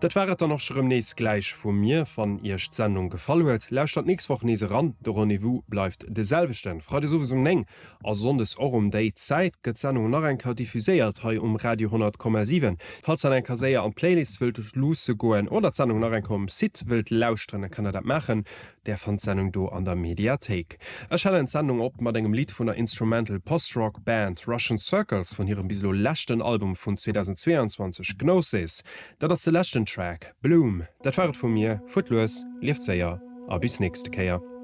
Dat war et dann och scho rëm nees gläich vu mir. Wann iech d'Sendung gefall huet, lauschtert d'nächst Woch nees eran. De Rendez-vous bleift de selwechten, Freides owes um 9 a Sonndes och um déi Zäit gëtt d'Sendung nach eng Kéier diffuséiert hei um Radio 100,7. Falls der eng Kéier séier an d'Playlist wëllt luusse goen oder d'Sendung nach eng Kéier um Site wëllt lauschteren, da kënnt der dat maachen. Där fannt d'Sendung do an der Mediathéik. Ech halen d'Sendung op mat engem Lidd vun der Instrumental Post-Rock Band Russian Circles vun hirem bis elo leschten Album vun 2022, Gnosis. Dat ass de leschten Track, Bloom. Dat war et vu mir. Fuert lues, lieft séier a bis nächste Kéier.